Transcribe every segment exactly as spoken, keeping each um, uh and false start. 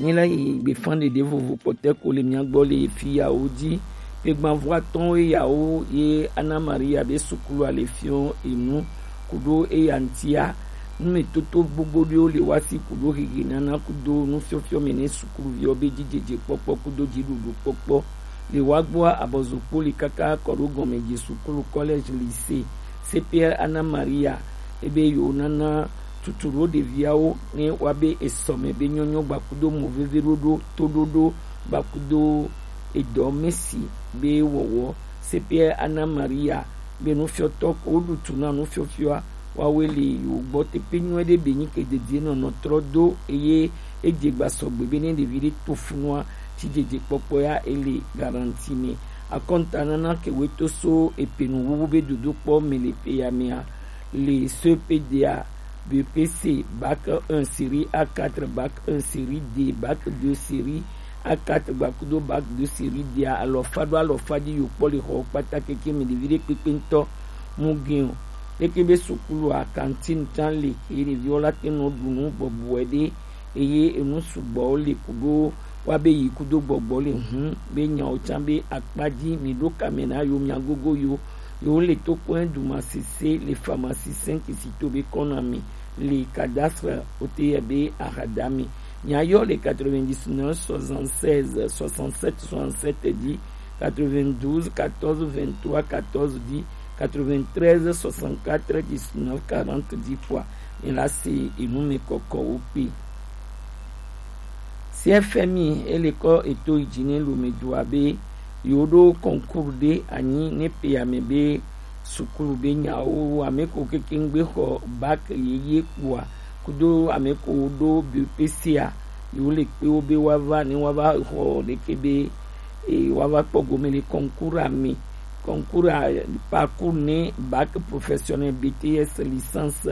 Nyi la yi gbefan ɖeɖe vovo kpɔtɛ ko le mia gbɔ le fi yawo ji. Kpegbanvo atɔ̃wo yawo ye Ana Maria be sukulu a le fiɔ enu kudo eya ŋtia. Numetoto gbogbo ɖewo le wa si kudo hehe nana kudo nufiɔfiɔ me ne sukuluviwo be jijeje kpɔkpɔ kudo jiɖuɖu kpɔkpɔ. Le wa gbɔa abɔzokpo li kaka kɔ ɖo gɔme ji sukulu, collège, lycée. C P R Ana Maria ebe yewo nana tutu ɖo ɖeviawo ne wa be esɔme be nyɔnyɔ gbakudo mo veve ɖoɖo toɖoɖo gbakudo edɔ mesi be wɔwɔ. C P R Ana Maria be nufiɔtɔ ko woɖu tu na nufiɔfiɔa wawe le yewo gbɔ tepe nyuie ɖe be nyi ke dedie nɔnɔ trɔ do eye edze gba sɔgbe be ne ɖevi ɖe to funua tsi dzedze kpɔkpɔ ya ele garanti me. Akɔnta nana ke we to so epenu wuwu be dodokpɔ me le pe ya mea le C P D A, B P C, bac un série A quatre, bac un série D, bac deux série A quatre gbakudo bac deux série D a alɔfa ɖo alɔfa ji yo kpɔ le xɔ kpata keke me ɖevi ɖe kpekpe ŋutɔ mu gɛn o. Leke be sukulu a cantine can le ke ɖeviwo la te nɔ ɖu nu bɔbɔe ɖe eye enu sugbɔwo le kudo wa be yi kudo gbɔgbɔ le hun be nyawo can be akpa ji mi ɖo kame na yo mia gogo yo yo le to kɔe du ma sese le pharmacie cinq si to be kɔna mi le cadastre O T R be ahadami. Mia yɔ le quatre-vingt-dix-neuf soixante-seize soixante-sept soixante-sept di, quatre-vingt-douze quatorze vingt-trois quatorze di, quatre-vingt-treize soixante-quatre dix-neuf quarante di kua. Mi la se enu me kɔkɔ wo kpe. C F M I ele kɔ eto yi ji ne lo me do abe yo ɖo concours ɖe anyi ne pe ame be sukulu be nyawo ame ko keke ŋgbe xɔ bac yeye kpoa kudo ame ko ɖo B P C a yo le kpe wo be wa va ne wa va xɔ ɖeke be e wa va kpɔ gome le concours ame concours a parcours ne bac professionnel B T S licence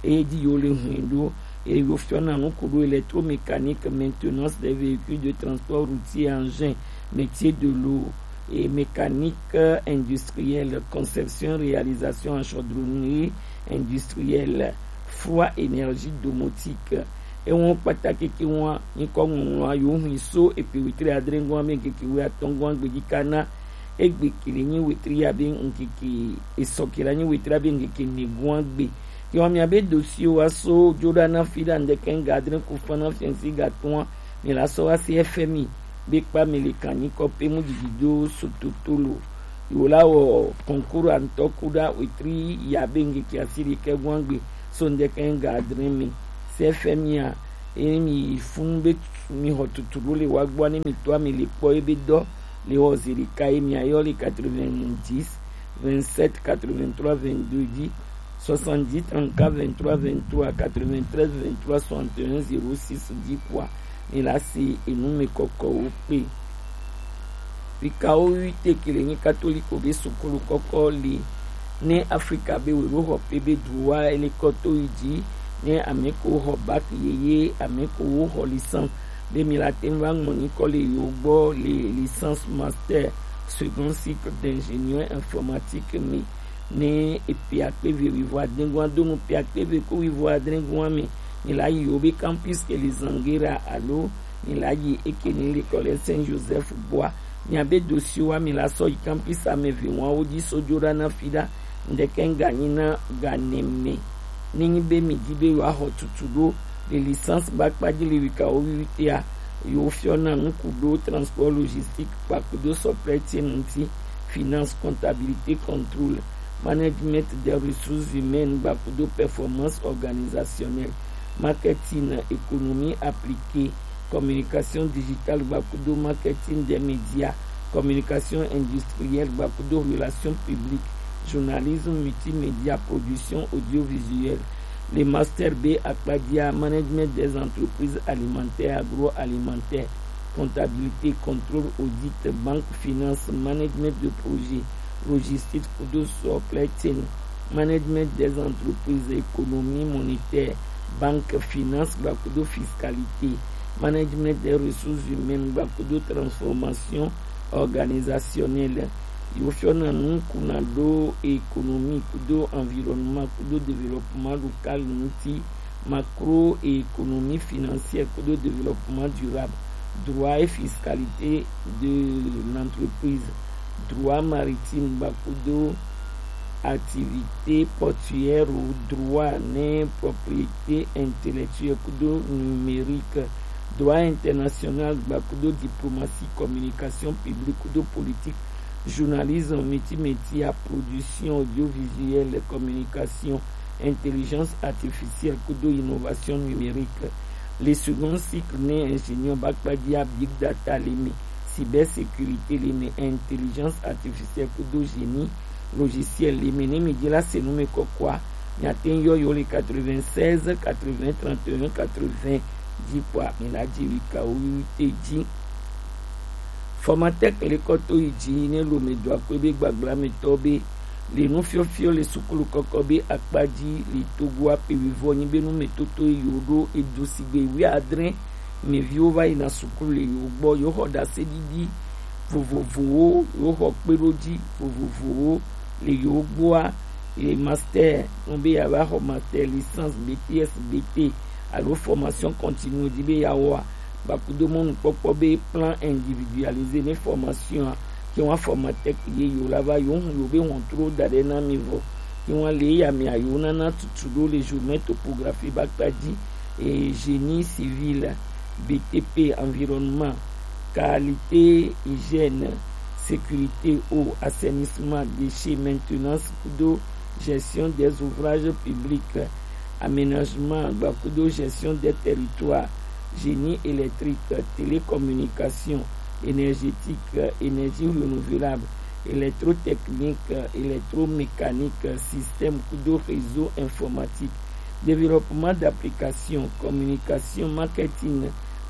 eye di yo le hwin ɖo eye yo fiɔ na nu ko ɖo électromécanique, maintenance des véhicules de transport routier, engin, métier de l'eau et mécanique industrielle, conception, réalisation en chaudronnerie industrielle, froid, énergie domotique. Ewo kpata keke wa nyikɔ ŋɔŋlɔ yo hui so epe wetri adre ŋgɔ ame keke we atɔ̃ ŋgɔ gbeji kana egbe kele nyi wetri abe ŋkeke esɔ kele nyi wetri abe ŋkeke ne ŋgɔ gbe. Ke wa mia be dossier wa so jo ɖa na fi ɖa ŋdeke ŋga adre ku fa na fiɛnsi ga tɔ̃a mi la sɔ wa C F M I be kpa mi le kan nyikɔ pe mu didi do so totolo. Yo la wɔ concours a ŋutɔ ku ɖa wetri ya be ŋkeke asi ɖeke ŋgɔ gbe so ŋdeke ŋga adre mi. C F M I a eye mi yi fun be mi xɔ tutu ɖo le wa gbɔ ne mi to ami le kpɔ ebe dɔ le xɔ zi ɖeka ye mi ayɔ le quatre-vingt-dix vingt-sept quatre-vingt-trois vingt-deux di, soixante-dix trente-quatre vingt-trois vingt-trois quatre-vingt-treize vingt-trois soixante et un zéro six di kua mi la se enu me kɔkɔ wo kpe. Fikawo wi te ke le nyi katoliko be sukulu kɔkɔ le ne Afrika be we ɖo xɔ pe be du wa ele kɔ to yi ji ne ame ko xɔ bac yeye ame ko wo xɔ licence be mi la te ŋu va ŋmɔ nyikɔ le yo gbɔ le licence master second cycle d'ingénieur informatique me ne epe akpe ve wuivo adre ŋgɔ do nu pe akpe ve ko wuivo adre ŋgɔ me mi la yi yo be campus ke le Zangera alo mi la yi eke ni le kɔ le Saint Joseph gbɔa. Mia be dossier wa mi la sɔ yi campus ame ve wa wo ji so jo ɖa na fi ɖa ŋdeke ŋga nyi na ga ne me. Ne nyi be mi di be yo axɔ tutu ɖo le licence ba kpa ji le wika wo wiwi tea yo fiɔ na nuku ɖo transport logistique kpakudo supply chain ŋuti, finance, comptabilité, contrôle, management des ressources humaines gbakudo performance organisationnelle, marketing, économie appliquée, communication digitale gbakudo marketing des médias, communication industrielle gbakudo relations publiques, journalisme multimédia, production audiovisuelle. Le master B akpadia management des entreprises alimentaires, agroalimentaires, comptabilité, contrôle, audit, banque, finance, management de projet, logistique kudo supply chain, management des entreprises, économie monétaire, banque, finance gbakudo fiscalité, management des ressources humaines gbakudo transformation organisationnelle. Yo fiɔ na nu kuna ɖo économie kudo environnement kudo développement local ŋuti macroéconomie financière kudo développement durable, droit et fiscalité de l'entreprise, droit maritime gbakudo activité portuaire ou droit ne propriété intellectuelle kudo numérique, droit international gbakudo diplomatie, communication publique kudo politique, journalisme, multimédia, production audiovisuelle, communication, intelligence artificielle kudo innovation numérique. Le second cycle ne ingénieur bakpadia big data leme, cybersécurité leme, intelligence artificielle kudo génie logiciel leme. Ne mi di la se nu me kɔkɔa, mi ate yɔ yo le quatre-vingt-seize quatre-vingts trente et un quatre-vingts di kɔa mi la di wi ka wo wi te di. Formatec le kɔ to yi dzi ne lome dɔa kpe be gbagblame tɔ be le nu fiɔfiɔ le sukulu kɔkɔ be akpa dzi le Togo akpe wi vɔ nyi be nu me toto yi wo ɖo edu sigbe wi adre me viwo va yina sukulu le yo gbɔ, yo xɔ ɖaseɖiɖi vovovowo, yo xɔ kpeɖodzi vovovowo le yo gbɔa, ye master, no be ya va xɔ master, licence, B T S, B T alo formation continue di be ya wɔa, gbakudo mɔnukpɔkpɔ be plan individualisé ne formation a, ke wa formatec ye yo la va yo hu yo be hɔntro da ɖe na mi vɔ, ke wa le ya mi a yo nana tutu ɖo le journée topographie bakpa dzi, et génie civil, B T P, environnement, qualité, hygiène, sécurité, eau, assainissement, déchets, maintenance kudo gestion des ouvrages publics, aménagement gbakudo gestion des territoires, génie électrique, télécommunication, énergétique, énergie renouvelable, électrotechnique, électromécanique, système kudo réseau informatique, développement d'applications, communication, marketing,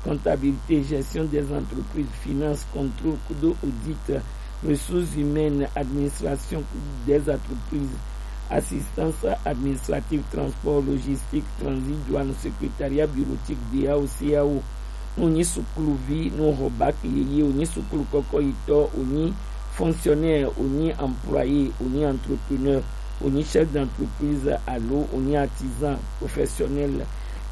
comptabilité, gestion des entreprises, finance, contrôle kudo audit, ressources humaines, administration des entreprises, assistance administrative, transport, logistique, transit, douane, secrétariat bureautique, D A O, C A O. Onyi sukuluvi no xɔ bac yeye, onyi sukulu kɔkɔ yitɔ, onyi fonctionnaire, onyi employé, onyi entrepreneur, onyi chef d'entreprise alo onyi artisan professionnel.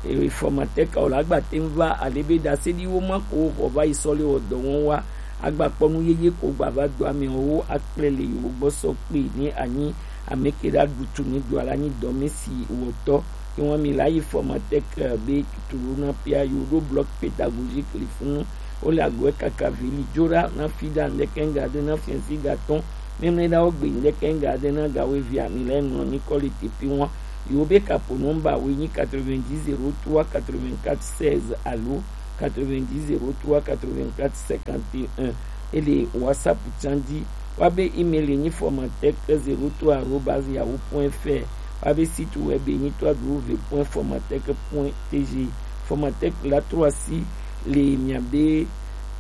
E, formatec o la gba te ŋu va ale be ɖaseɖiwo ma ko xɔ va yi sɔ le wɔ dɔ wɔm wa, agba kpɔ nu yeye ko gba va do ame wo akple le yo gbɔ sɔ kpe ne anyi ame ke ɖa ɖutu ne do ala nyi dɔme si wɔtɔ. Ke wɔn mi la yi formatec be tuturu na pia yo ɖo bloc pédagogique le funu. Wo le agɔe kaka veli jo ɖa na fi ɖa ŋdɛkɛ ŋga ɖe na fiɛnsi ga tɔn. Mɛmɛ ɖa wo gbe ŋdɛkɛ ŋga ɖe na ga wo evia mi le ŋlɔ nyikɔ le tepi wɔn. Yo be kapo nɔmba wo nyi quatre-vingt-dix zéro trois quatre-vingt-quatre seize alo quatre-vingt-dix zéro trois quatre-vingt-quatre cinquante et un. Ele WhatsApp tsan dzi. Wa be email nyi formatec zéro trois arobase yahoo point F R. Wa be site web nyi trois W point formatec point T G. Formatec la trɔ asi le mia be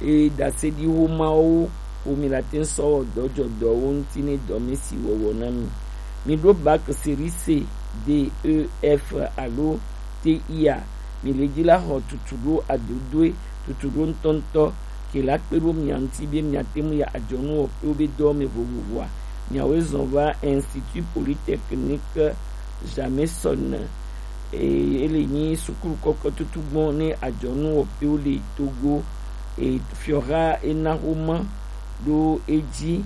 e ɖaseɖiwo mawo ko mi la te sɔ wɔ dɔ jɔ dɔwo ŋuti ne dɔme si wɔwɔ na mi. Mi ɖo bac série C, D, E, F alo T I a, mi le dzi la xɔ tutu ɖo adodoe, tutu ɖo ŋutɔŋutɔ, ke la kpe ɖo mia ŋuti be mia te ŋu ya adzɔnu wɔƒewo be dɔwo me vovovoa, miawoe zɔn va Institut Polytechnique Jameson, eye ele nyi sukulu kɔkɔ tutu gbɔ ne adzɔnu wɔƒewo le Togo, e, fiɔha ena xoma ɖo edzi.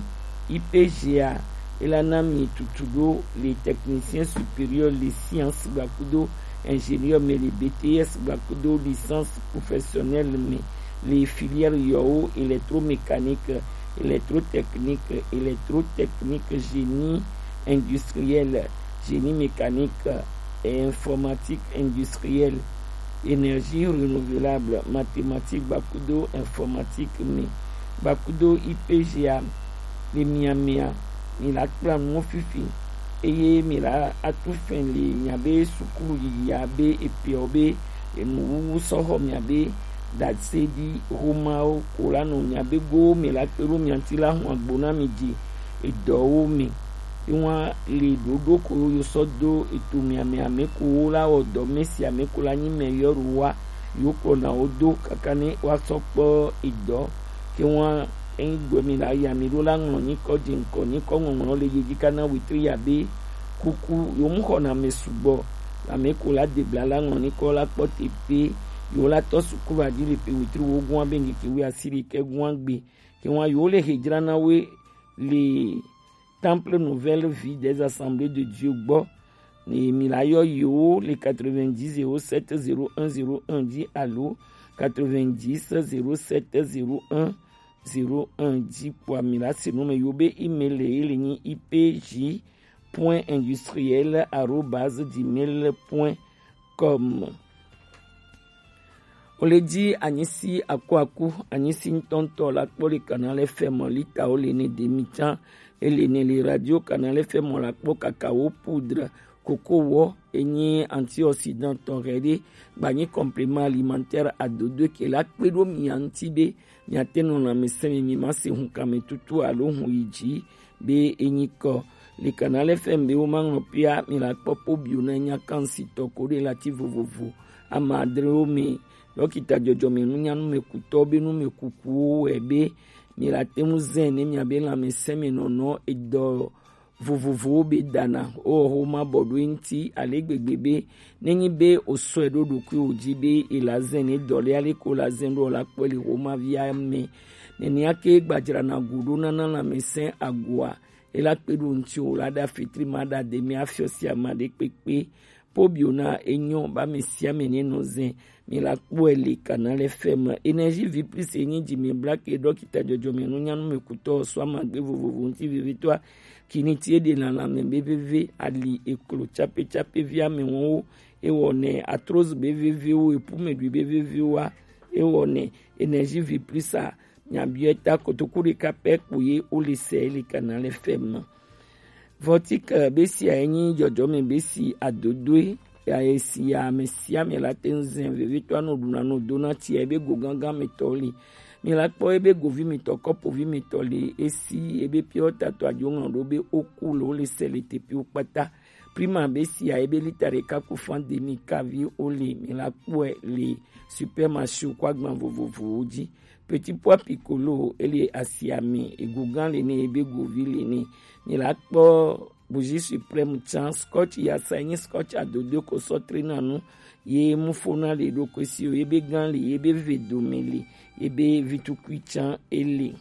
I P G a, ela na mi tutu ɖo le technicien supérieur le science gbakudo ingénieur me le B T S gbakudo licence professionnelle me le filière yɔwo électromécanique, électrotechnique, électrotechnique, génie industriel, génie mécanique, informatique industrielle, énergie renouvelable, mathématiques gbakudo informatique me gbakudo I P G a le mia mea, mi la kpla nuwo fifi, eye mi la atu fɛn le mia be sukulu yiyia be epeɔ be enuwuwu sɔ xɔ mia be ɖaseɖi xomawo ko la nɔ mia be gowo me la kpe ɖo mia ŋuti la hun agbo na mi dzi edɔwo me. Ewa le ɖoɖo ko yo sɔ do eto mia me ame ko wo la wɔ dɔ me si ame ko la nyi me yɔ ɖo wa yo kplɔna wo do kaka ne wa sɔ kpɔ edɔ ke wa eyin gbɔ mi la ya mi ɖo la ŋlɔ nyikɔ dze ŋkɔ nyikɔ ŋɔŋlɔ le yedzi kana wetri ya be kuku yo mu xɔna me sugbɔ Ame ko la debla la ŋlɔ ni kɔ la kpɔ te pe yo la tɔ suku va di le pe wetri wo gua be ŋkeke wi asiri ke gua gbe. Ke wa yo le hejra na we le Temple Nouvelle Vie des Assemblées de Dieu gbɔ. Ni mi la yɔ yo le quatre-vingt-dix zéro sept zéro un zéro un di alo quatre-vingt-dix zéro sept zéro un zéro un di kpɔa mi la se nu me yo be email ye le nyi I P J point industriel arobase gmail point com. O le di anyisi akuaku, anyisi ŋutɔŋutɔ la kpɔ le Canal F M lita o le ne demi can, e le ne le radio Canal F M la kpɔ cacao poudre, coco wɔ, e nyi antioxydant tɔ hɛ ɖe, gba nyi complément alimentaire adodo ke la kpe ɖo mia ŋuti be miate nɔ lãmesẽ me, mi ma se hunkanmetutu alo hun yi dzi be e nyi kɔ. Le Canal F M be wo ma ŋlɔ pia mi la kpɔ po bio na nya kan si tɔ ko ɖe lati vovovo ama adrewo me. Dɔkita dzɔdzɔme nunyanu me kutɔ be nu me kukuwo wɛ be mi la te ŋu zɛn ne mia be lãmesẽ me nɔnɔ edɔ vovovowo be dana o ho ma bɔ ɖo eŋuti ale gbegbe be nenyi be o sɔe ɖo ɖokuiwo dzi be e la zɛn ne dɔ le ale ko la zɛn ɖo la kpɔe le ho ma via me. Nenea ke gbadzra na go ɖo nana lãmesẽ agoa e la kpe ɖo ŋuti o la ɖa fitri ma ɖa de mi afiɔ sia ma ɖe kpekpe. Po bio na enyɔ ba mi sia mi ne nɔ zɛn mi la kpɔe le Canal F M. Énergie Vie Plus e nyi dzi mi bla ke dɔkita dzɔdzɔme nunyanu me kutɔ sɔ amagbe vovovo ŋuti vivitɔa. Kiniti e ɖe na lãme be veve ali eklo tsape tsape vi ame wɔwo. E wɔ nɛ arthrose be vevewo, epumeɖui be vevewoa. E wɔ nɛ Énergie Vie Plus a. Miabiɔe ta kotoku ɖeka pɛ kpo ye wo le sɛ le Canal F M. Vɔtik be sia ye nyi dzɔdzɔme be si adodoe ya ye si ya ame sia ame la te ŋu zɛn vevitɔ anɔ ɖuna nɔ dona tia ebe go gangan me tɔ li. Mi la kpɔ ebe govi mi tɔ kɔpovi mi tɔ li esi ebe piɔ tatɔ adzo ŋlɔ ɖo be oku le wo le sɛ le tepiwo kpata. Prima be sia ebe lita ɖeka ku fan demi kavi wo le mi la kpɔe le supermarché ko agban vovovowo dzi. Petit pois piccolo ele asiame egogan le ne ebe govi le ne. Mi la kpɔ bougie suprême tsan scotch yasa nyi scotch adodo ko sɔ trena nu ye mu fona le ɖo ko si o ebe gan le ebe ve dome le ebe vitukui tsan ele.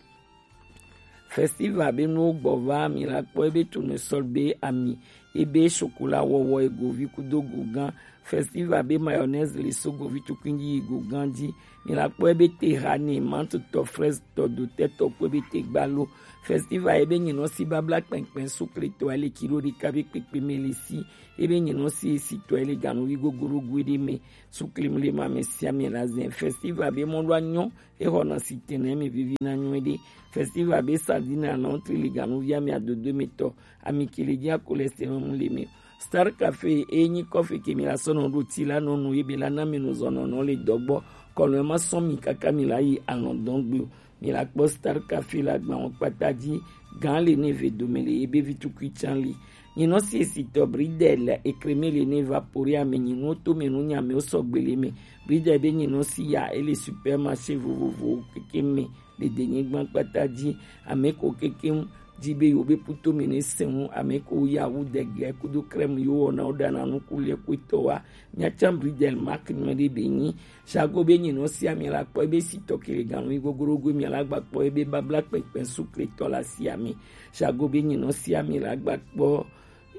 Festival be nuwo gbɔ va mi la kpɔ ebe tournesol be ami ebe chocolat wɔwɔ ego vi kudo gogan. Festival be mayonnaise le so govi tukui dzi yi gogan dzi. Mi la kpɔ ebe te hane mantotɔ fraise tɔ dotɛ tɔ kpɔ ebe te gbalo. Festival ebe nyinɔ si babla kpɛnkpɛn sukle tɔ ele kilo ɖeka be kpekpe me le si ebe nyinɔ si esi tɔ ele ganuvi gogoro gue ɖe me. Sukle mle ma me sia me la zɛn festival be mɔ ɖo anyɔ. Exɔna si tɛnɛ mi vivi na nyuie ɖe. Festival be sardine alɔntri le ganuvi ami adodo me tɔ ami kele dzi akolestɛrɔn le me. Star Cafe e nyi kɔfe ke mi la sɔnɔ ɖo ti la nɔnu ebe la na mi nu zɔnɔnɔ le dɔgbɔ kɔnɔ ma sɔn mi kaka mi la yi alɔndɔn gbe o. Mi la kpɔ Star Cafe la gban wo kpata dzi gan le ne ve dome le ebe vitukui tsan li. Nyinɔ si esi tɔ bridel ekreme le ne vapore ame nyinɔ to me nu nyame wo sɔgbe le me. Bridel be nyinɔ si ya ele supermarché vovovo keke me le denyigba kpata dzi. Ame ko keke di be yewo be puto me ne sɛn wu ame ko ya wu dege kudo krem yo wɔna wo ɖana nuku le kuetɔ wa. Mia tsan bridel mark nyuie ɖe be nyi. Sago be nyinɔ si ame la kpɔ ebe si tɔ kele ganu yi gogorogo mia la gba kpɔ ebe babla kpɛkpɛ sukle tɔ la si ame. Sago be nyinɔ si ame la gba kpɔ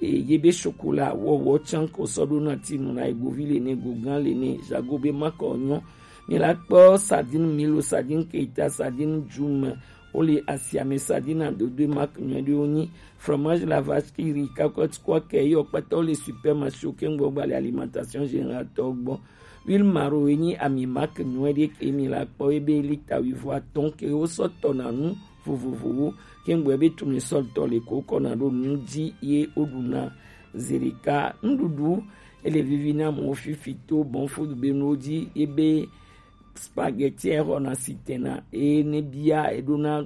eye be chocolat wɔwɔ tsan ko sɔ ɖo na tinu na egovi le ne gogan le ne. Sago be makɔ nyɔ. Mi la kpɔ sardine milo, sardine keita, sardine djume. Wo le asiame sardine adodo mak nyuie ɖe wo nyi. Fromage la vache qui rit, kakɔt kɔ ke yɔ kpata wo le supermarché wo ke ŋgbɔ gba le alimentation générale tɔ gbɔ. Huile maro ye nyi ami mak nyuie ɖe ke mi la kpɔ ebe lita wuivo atɔn ke wo sɔ tɔ na nu vovovowo. Ke ŋgbɔ ebe tournesol tɔ le ko kɔ na ɖo nu dzi ye wo ɖu na. Zerika nuɖuɖu ele vivi na mo fifi to bon food be nuwo dzi ebe spaghetti exɔna si tena eye ne bia eɖona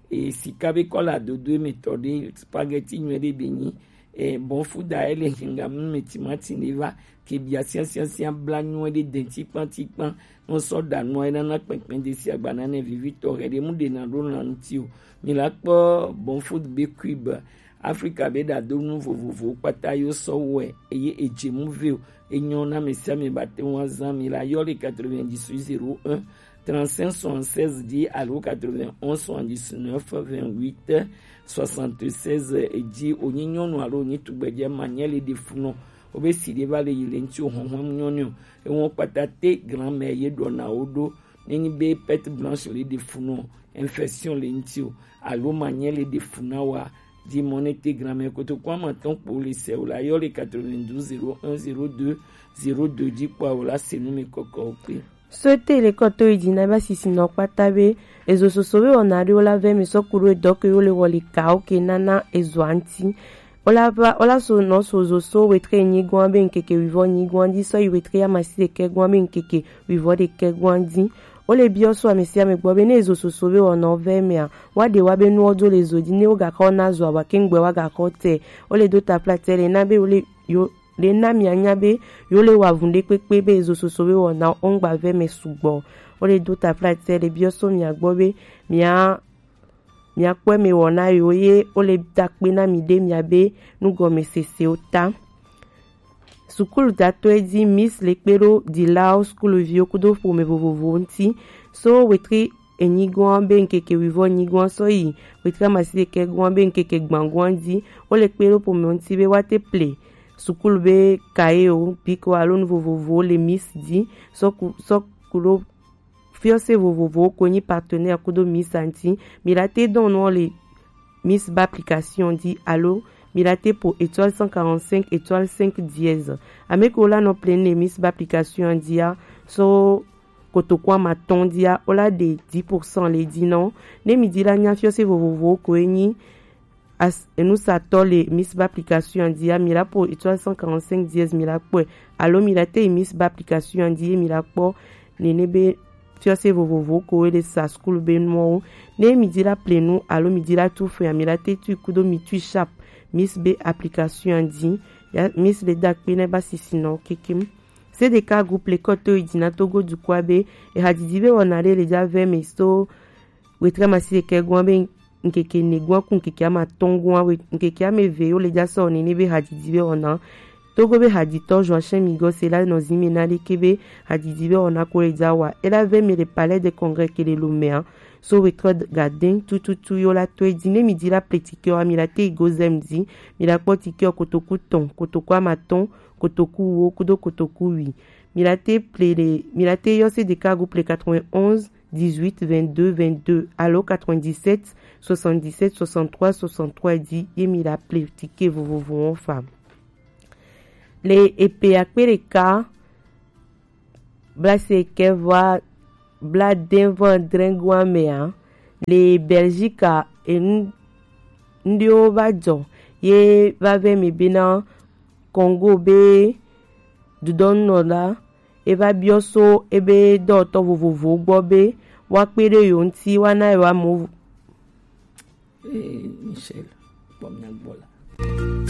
e, sika be kɔla dodo eme tɔ ɖe spaghetti nyuie ɖe be nyi e, bon fuda ele hinga mu me timati ne va ke bia siasiasia bla nyuie ɖe denti kpanti kpan no sɔ da nua ena na kpɛnkpɛn de si agba na ne vivi tɔ he ɖe mu ɖe na ɖo na ŋuti o. Mi la kpɔ bon food be cube Afrika be ɖadonu vovovowo kpata yo sɔ wɛ eye edze mu vɛ o. Enyo na ame sia ame ba te ŋu azan mi la yɔ le quatre-vingt-dix-huit zéro un trente-cinq soixante-seize dzi alo quatre-vingt-onze soixante-dix-neuf vingt-huit soixante-seize dzi. Wonyi nyɔnu alo wonyi tugbedze ma nye le ɖe funɔ. Wobe si ɖe va le yi le ŋuti o, hɔnhɔn nyɔnu o. Ewo kpata te grand-mère ye ɖɔna wo ɖo. Nenyi be perte blanche le ɖe funɔ, infection le ŋuti o, alo ma nye le ɖe fu na wa, di mɔ ne te grand-mère kotoku amatɔn kpo le se o la yɔ le quatre-vingt-douze zéro un zéro deux zéro deux dzi kpɔ o la se nu mi kɔkɔ o kpe. Sɔte le kɔtɔ yi dzi na ba sisi nɔ kpata be ezo soso be wɔna ɖewo la vɛ mi sɔ ku ɖo edɔ ke yo le wɔ le ka o ke nana ezo anti. Wola va wola so nɔ so zo so wetre nyigɔn be ŋkeke wivɔ nyigɔn dzi sɔ yi wetre amasi ɖekɛ gɔn be ŋkeke wivɔ ɖekɛ gɔn dzi. Wole biɔ so ame sia ame gbɔ be ne ezo soso be wɔna vɛ mea, wa ɖe wa be nuwo do le zo dzi ne wo gakɔ na zo awa ke ŋgbɛ wa gakɔ te. Wole do tafla te le na be wole yo le na mia nya be yo le wa vun ɖe kpekpe be ezo soso be wɔna o ŋgba vɛ mɛ sugbɔ. Wole do tafla te le biɔ so mia gbɔ be mia miakpɔe mi wɔna yiwo ye wole da kpe na mi ɖe miabe nugɔmesesewo ta. Sukuludatɔe dzi Miss le kpe ɖo dilawo sukuluviwo kudo ƒome vovovowo ŋuti so wetri enyigɔn be ŋkeke wivɔ nyigɔn sɔ yi wetri amasi ɖekɛ gɔn be ŋkeke gbãgɔn dzi wole kpe ɖo ƒome ŋuti be woate ple sukulu be kayewo biko alo nu vovovowo le Miss dzi sɔ ku sɔ ku ɖo fiɔse vovovowo ko nyi partenaire kudo Miss anti. Mi la te dɔn nɔ le Miss ba application di alo mi la te po étoile cent quarante-cinq étoile cinq dièse. Ame ko la nɔ plein le Miss ba application dia so kotoku amatɔn dia o la de dix pour cent le di nɔ. Ne mi di la nya fiɔse vovovowo ko enyi as enusatɔ le Miss ba application dia mi la po étoile cent quarante-cinq dièse mi la kpɔe alo mi la te Miss ba application di mi la kpɔ nene be fiɔse vovovo ko le sa school be nuwo ne mi di la plenu alo mi di la tu fea mi la te tu kudo mi tu sharp Miss be application di ya Miss le da kpe ne ba sisi nɔ kekem. Se de ka groupe le kɔto idina Togo dukua be e hadidi be wɔna le le ja ve me so wetre amasi ɖekɛ gɔn be ŋkeke ene gɔn ku ŋkeke amatɔn gɔn we ŋkeke ame eve yo le ja sɔ nene be hadidi be wɔna. Togo be haditɔ Joachim Migos la nɔ zi me na ɖeke be hadidi be wɔna ko le ja wa. E la ve me le Palais de Congrès ke le Lomé a. So wetre gadin tututu yo la to e di ne mi di la ple tikɛ wa mi la te go zem di mi la kpɔ tikɛ kotoku tɔn kotoku amatɔn kotoku wo kudo kotoku wi. Mi la te ple le mi la te yɔ se de ka groupe le quatre-vingt-onze dix-huit vingt-deux vingt-deux alo quatre-vingt-dix-sept soixante-dix-sept soixante-trois soixante-trois di ye mi la ple tike vovovo wɔn fa. Le epe akpe ɖeka blase kɛ va bla den vɔ drengoa mea le Belgique enu ndiwo va dzɔ ye va vɛ mi bena Congo be dudɔnunɔla eva biɔ so ebe dɔwɔtɔ vovovowo gbɔ be woakpe ɖe yewo ŋuti woana yewo amewo. Ee, Michel, kpɔ mia gbɔ la.